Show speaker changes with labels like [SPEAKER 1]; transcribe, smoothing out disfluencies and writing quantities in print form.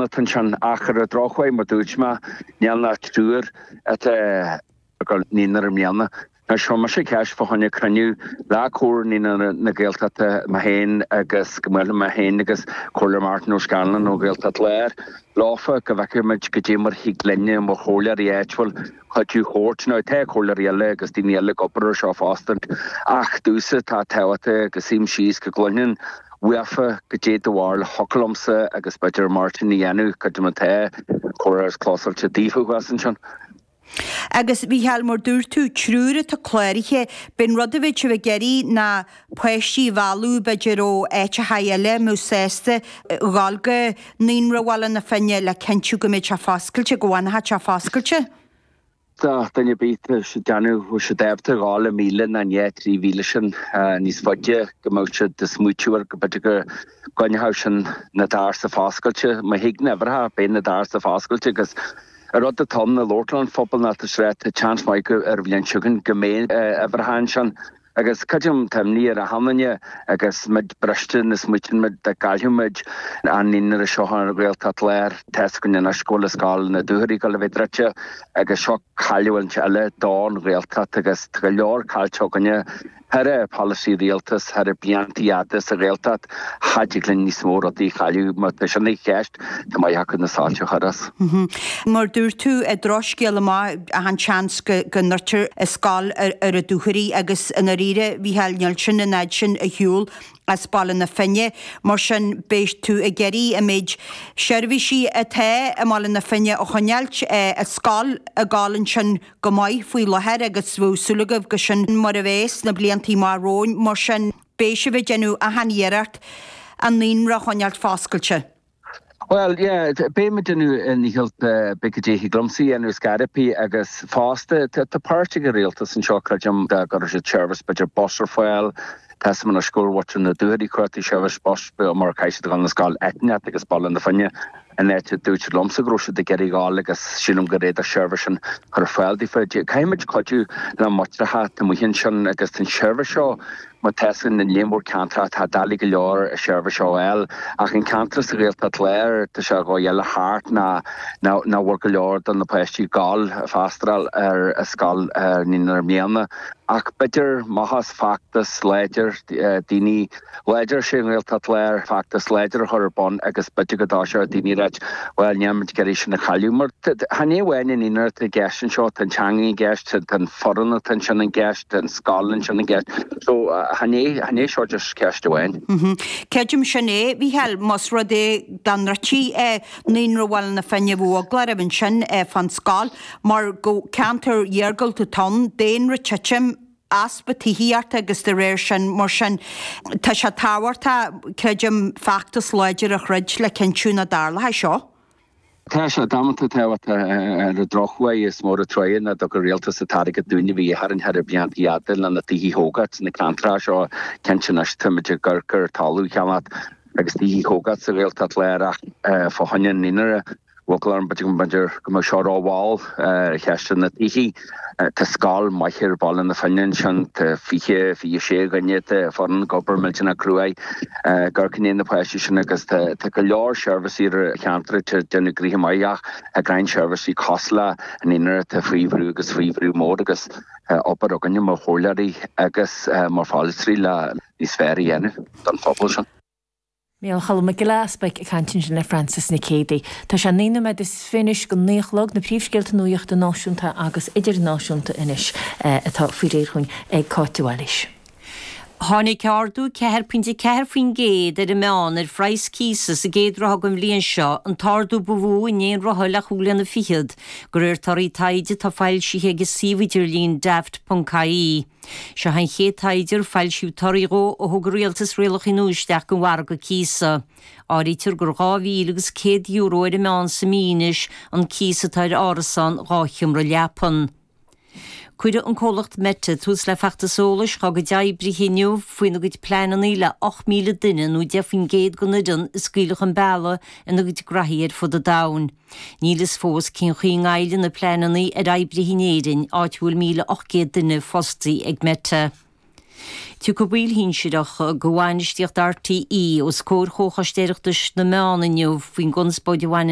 [SPEAKER 1] foireann atá ansin ach ar an drochuair mar dúirt mé níl ach triúr atá ag dul naíonra i mbliana. Anois chuir mise ceist fá choinne cruinniú le Comhar Naíonra na Gaeltachta, mé féin agus go mbuailfidh mé féin agus Comhairleoir Martin O'Scanlon ó Ghaeltacht Láir leofa go bhfeicfidh muid goidé mar thig linne mar chomhairleoirí áitiúil cuidiú a thabhairt. Now tá comhairleoirí eile agus daoine eile ag obair ar seo fosta ach domhsa tá tábhachtach go suím síos go gcluinfinn uafa goidé do bharúil thiocfadh liomsa agus b'fhéidir Martin a dhéanamh creidim tá comhrá is closáilte daofa thuas ansin.
[SPEAKER 2] Agus, a Mhícheáil, mar dúirt tú, triúr atá cláraithe, b'in rud a bheadh sibh ag iarraidh ná páistí a mhealladh b'fhéidir ó áiteacha eile a mbeadh sásta dhul go Naíonra Bhaile na Finne le cinntiú go mbeidh sé foscailte, go bhfanfadh sé foscailte.
[SPEAKER 1] Dá duine ar bith tá siad déanamh, bheadh siad ábalta dhul an míle nó an 2, 3 mhíle sin níos faide go mbeadh siad ag smaoitiú air go b'fhéidir go gcoinneodh sin na doirse foscailte. Má thig na huimhreacha, beidh na doirse foscailte agus An rud atá ann ag labhairt leis an phobal ná tá sé tá seans maith go ar an bhliain seo chugainn go mbeidh uimhreacha ansin agus creidim tá imní ar achan duine agus muid briste na smaoitíonn muid dá gcaillfeadh muid an naíonra seo ar an Ghaeltacht Láir tá fhios againn anois go bhfuil an scoil na Dúchoraidh ag dul a bheith druidte agus seo cailliúint eile don Ghaeltacht agus tá go leor caillte againne Thar polasaí rialtas thar blianta fhada sa Ghaeltacht, cha dtig linn níos mó rudaí a chailleadh. Má tá sin i gceist, tá maith acu na soilse a chur as.
[SPEAKER 2] Mar dúirt tú, drochscéal amach, achan tseans go ndruidtear an scoil ar an Dúchoraidh agus i ndáiríre, a Mhícheáil, níl sin an fhad sin ar shiúl as Baile na Finne. Mar sin, beidh tú ag iarraidh an méid seirbhísí atá i mBaile na Finne a choinneáilt, an scoil ag gabháil ansin go maith faoi láthair agus bheadh súil agaibh go sin mar a bheas sna bliantaí amach romhainn, mar sin beidh sibh ag déanamh achan iarracht an naíonra a choinneáilt foscailte.
[SPEAKER 1] Bhuel, yeah, beidh muid ag déanamh ár ndícheall beidh goidé thig liomsa a dhéanamh ar scor ar bith agus fosta tá páirt ag an rialtas anseo creidim dá gcuirfeadh siad seirbhís b'fhéidir bus ar fáil Tá fhios agam anois go bhfuil muintir na Dúchoraidhe cuartaigh seirbhís bus mar caithfidh siad a dhul na scoil Eitneach agus Baile na Finne an áit a dúirt siad liomsa go raibh siad ag iarraidh dhul agus sílim go bhféadfadh seirbhís sin chur ar fáil daofa. Caithfidh muid cuidiú le muintreacha atá amuigh ansin agus tá an seirbhís seo mar tá fhios againn i líon mór ceantracha tá doiligh go leor an seirbhís seo a fháil ach an ceantar sa Ghaeltacht Láir tá sé dhóigh eile thart ná nach bhfuil go leor de na páistí ag gabháil freastal ar an scoil ar naíonra i mbliana. Ach b'fhéidir maitheas feachtas láidir, daoine láidir sa nGaeltacht Láir, feachtas láidir a chur ar bun agus b'fhéidir go dtoiseoidh daoine ag ráit, bhuel, níl muid ag iarraidh sin a chailleadh. Mar chan é amháin an naíonra atá i gceist anseo, tá an teanga i gceist, tá an foireann atá ansin i gceist, tá an scoil ansin i gceist. So, chan é, chan é seo just ceist amháin.
[SPEAKER 2] Creidim sin é, a Mhícheáil, más rud é dá ndruidtí Naíonra Bhaile na Finne bheadh eagla oraibh ansin fán scoil. Mar gur ceantar iargúlta atá ann, daonra ag titim, easpa tithíochta agus de réir sin, mar sin, tá sé tábhachtach, creidim, feachtas láidir a throid le cinntiú nach dtarlóidh seo.
[SPEAKER 1] Tá sé damanta tábhachtach ar an drochuair is mór an trua nach dtug an rialtas an t-airgead dúinn a bhí a orainn thar blianta fhada le na tithe a thógáilt sna ceantracha seo. Cinnte anois táimid ag amharc ar talamh a cheannacht agus tithe a thógáilt sa Ghaeltacht Láir ach fá choinne an naíonra Bheadh eagla orm b'fhéidir go mbeadh seo rómhall ar cheist na tithí. Tá scoil maith ar Bhaile na Finne ansin, tá 20, 26 dhuine, tá foireann ag obair millteanach cruaidh ag amharc i ndiaidh na páistí sin agus tá go leor seirbhísí ar an cheantar atá ag déanamh gnoithe maith ach tá roinnt seirbhísí cosúil le an naíonra atá faoi bhrú agus faoi bhrú mór agus tá obair againne mar chomhairleoirí agus mar pholaiteoirí le níos fearr a dhéanamh don phobal sin.
[SPEAKER 3] Micheál Cholm Mac Giolla Easpaig ag caint ansin le Frances Nic Géadaigh. Tá sé 9 nóiméad is fiche anois go 9 a chlog, na príomhscéalta nuachta náisiúnta agus idirnáisiúnta anois atá faoi réir chugainn ag Cáit de Bhailís.
[SPEAKER 4] Tháinig ardú 4.4% ar an meán ar phraghas cíosa sa gcéad ráithe den bhliain seo, an t-ardú ba mhó in aon ráithe le chúig bhliana fichead, de réir torthaí taighde atá foilsithe ag an suíomh idirlín Daft.ie. Seo an chéad taighde ar foilsíodh torthaí dhó ó thug an rialtas rialacha nua isteach don mhargadh cíosa. Áirítear gur €2,100 ar an meán sa mí anois an cíos atá ar árasán 2 sheomra leapan. Cuirfidh an comhlacht Meta tús le feachtas eolais dhá gcuid oibrithe inniu faoina gcuid pleananna le 8,000 duine nó 10% den fhoireann a scaoileadh chun bealaigh ina gcuid graithí ar fud an domhain. Níl fhios fós cén chaoi a ngoillfidh na pleananna ar oibrithe in Éirinn, áit a bhfuil 1,800 duine fostaí ag Meta. Tiocfaidh baill shinsearacha de bhainistíocht RTÉ os comhair Chomhchoiste Oireachtais na Meán inniu faoin gconspóid a bhaineann.